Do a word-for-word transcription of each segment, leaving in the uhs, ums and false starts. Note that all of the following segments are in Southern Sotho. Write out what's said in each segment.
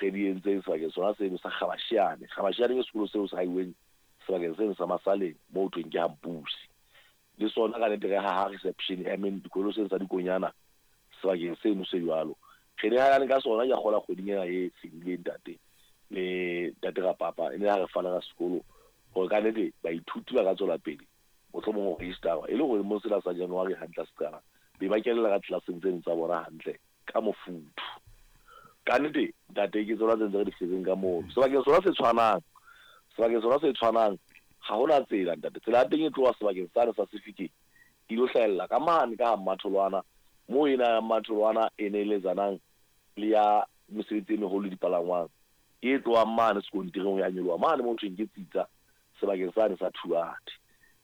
re di entseng sebakeng sona seno sa Kgabashiane. Kgabashiane ke sekolo seo se haiweng sebakeng seno sa Masaleng moo ho thweng ke Hampusi. Le sona ka nnete re haha reception, I mean dikolo seno sa dikonyana sebakeng seno se jwalo. Re nehelane ka sona ke a kgolwa kgweding ena e fetileng ntate le ntate Rapapa, e ne ha re fana ka sekolo hore ka nnete baithuti ba ka tswela pele mohlomong ho register-wa e le hore mo sena sa January hantle se qala be ba kenela ka tlelaseng tseno tsa bona hantle ka mofuthu. Ka nnete ntate ke tsona tse ntse re di hletseng ka mono. Sebakeng sona se tshwanang, sebakeng sona se tshwanang ha hona tsela ntate. Tsela ya teng e tloha sebakeng sane sa Sefikeng e ilo hlahella ka mane ka ha Mmatholwana, moo ena ya Mmatholwana e neeletsanang le ya mesebetsi e meholo le dipalangwang e tlohang mane sekontireng ho ya nyoloha mane moo thweng ke Tsitsa sebakeng sane sa Thuate.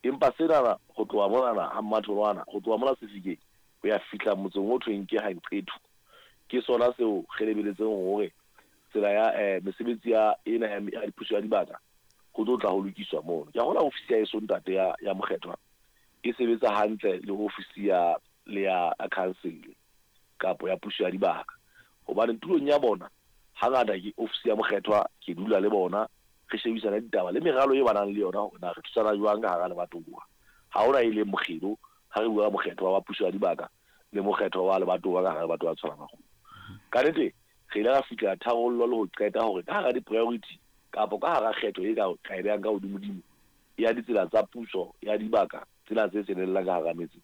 Empa senana ho tloha monana ha Mmatholwana, ho tloha mona Sefikeng ho ya fihla motseng o thweng ke Hanqethu, ke sona seo re lebeletseng hore tsela ya eh, mesebetsi ya ena ya, ya dipuso ya dibaka ho tlo tla ho lokiswa mono. Ke a hola ofisi ya eso ntate ya, ya Mokgethwa e sebetsa hantle le ofisi ya le ya council kapo ya puso ya dibaka, hobane tulong ya bona hangata ke ofisi ya Mokgethwa, ke dula le bona re shebisana ditaba le meralo e ba nang le yona hore na re thusana jwang ka hara lebatowa. Ha hona e leng mokgelo ha re bua Mokgethwa wa puso ya dibaka le Mokgethwa wa lebatowa ka hara lebatowa Tshwaragong. Ka nnete re ile ra fihlela tharollo le ho qeta hore ka hara di-priority kapo ka hara kgetho e ka ka e behang ka hodimodimo ya ditsela tsa puso ya dibaka tsena tse kenellang ka hara metse,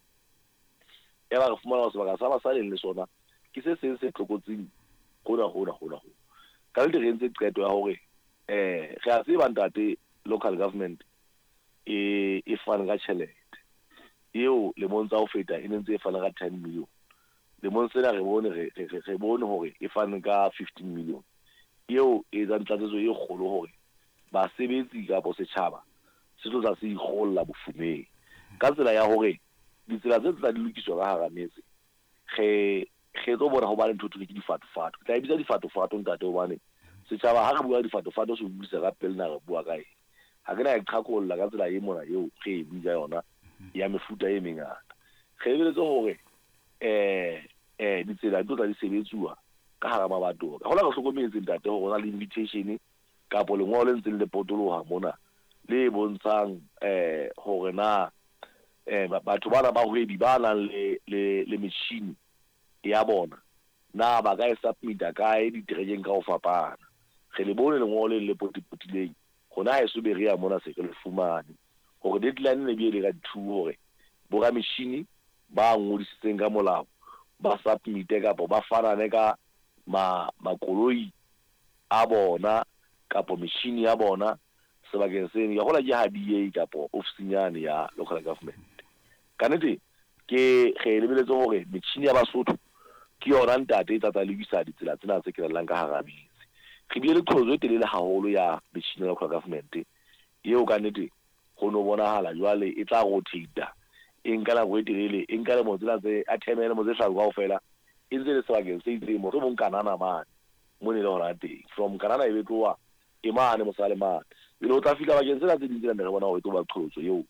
ya ba re fumana hore sebaka sa Masaleng le sona ke se seng se tlokotsing hona hona hona hona. Ka nnete re entse qeto ya hore eh re a tseba ntate local government e e fane ka tjhelete eo lemong tsa ho feta e ne ntse e fana ka ten million. Lemong sena re bone re re re bone hore e fane ka fifteen million eo e etsang tlatsetso e kgolo hore basebetsi kapo setjhaba se tlo tla se ikgolla bofumeng ka tsela ya hore ditsela tse tla di lokiswa ka hara metse. Re re tlo bona ho ba le ntho thwe ke difatofato. Ke tla e bitsa difatofato ntate, hobane setjhaba ha re bua difatofato se utlwisisa ka pele na re bua ka eng. Ha ke na e qhakolla ka tsela e mona eo re e bua ka yona ya mefuta e mengata. Re lebeletse hore eh eh ditsela di tlo tla di sebetsuwa ka hara mabatowa. Ka hola re hlokometse ntate hore ho na le invitation kapo lengolo le ntseng le potoloha mona le bontshang eh hore na eh batho bana ba hwebi ba nang le le le metjhini ya bona na ba ka e submit-a kae diterekeng ka ho fapana. Re le bone lengolo le le potipotileng hona ha eso be re ya mona se re le fumane hore deadline ne bile ka two hore borametjhini ba ngodisitseng ka molao ba submit-e kapo ba fanane ka ma makoloi a bona kapo metjhini ya bona sebakeng seno. Ke hola ke ha D A kapo ofising yane ya local government. Ka nnete ke re lebeletse hore metjhini ya Basotho ke yona ntate e tla tla lokisa ditsela tsena tse kenellang ka hara metse. Re bile le qholotso e telele haholo ya metjhini ya local government eo ka nnete ho no bonahala jwale e tla rotate-a e nka nako e telele, e nka lemo tsena tse a theme lemo tse hlano kaofela e ntse le sebakeng se itseng, mohlomong Kanana mane mo ne le hona teng. From Kanana e be tloha e mane mosale mane, pele o tla fihla bakeng tsena tse ding tsena ne re bona hore e tlo ba qholotso eo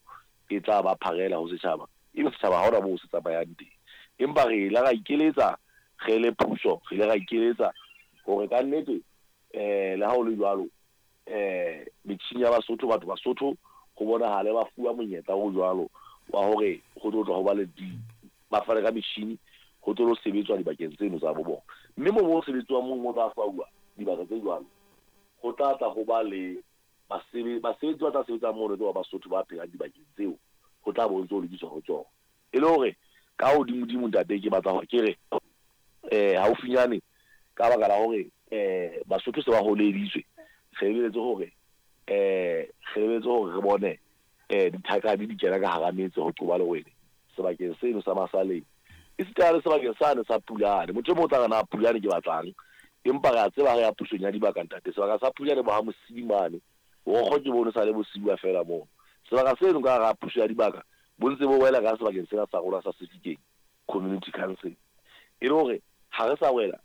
e tla ba pharela ho setjhaba, ebe setjhaba ha hona moo se tsamayang teng. Empa re ile ra ikeletsa re le puso, re ile ra ikeletsa hore ka nnete eh le ha ho le jwalo eh metjhini ya Basotho, batho Basotho ho bonahale ba fuwa monyetla o jwalo wa hore ho tlo tla ho ba le di ba fane ka metjhini ho tlo sebetswa dibakeng tseno tsa bo bona. Mme mo mo sebetswang mo mo tla fuwa dibaka tse jwalo ho tla tla ho ba le basebetsi basebetsi ba tla sebetsa mono ke ba Basotho ba phelang dibakeng tseo ho tla bo ntso lokiswa ho tsona. E le hore ka hodimodimo ntate ke batla hore ke re eh haufinyane ka baka la hore eh Basotho se ba holeditswe, re lebeletse hore eh re lebeletse hore re bone eh dithakadi di kena ka hara metse ho qoba lewele sebakeng seno sa Masaleng, esita le sebakeng sane sa Pulane. Motho e mong o tla re na Pulane ke batlang, empa re a tseba re ya pusong ya dibaka ntate. Sebaka sa Pulane bo ha Mosimane borokgo ke bono sa le bosiwa fela mono. Sebaka seno ka hara puso ya dibaka bo ntse bo wela ka sebakeng sena sa rona sa Sefikeng Community Council. E le hore ha re sa wela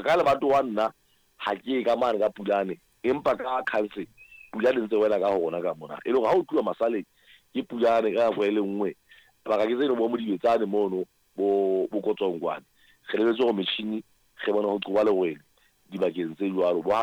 ka lebatowa nna ha ke ka mane ka Pulane, empa ka council Pulane ntse wela ka ho rona ka mona. E le hore ha o tluwa Masaleng ke Pulane ka nako e le nngwe, baka ke tseno bo Modibetsane mono bo bo Kotsongwane. Re lebetse hore metjhini re bona ho qoba lewele dibakeng tse jwalo bo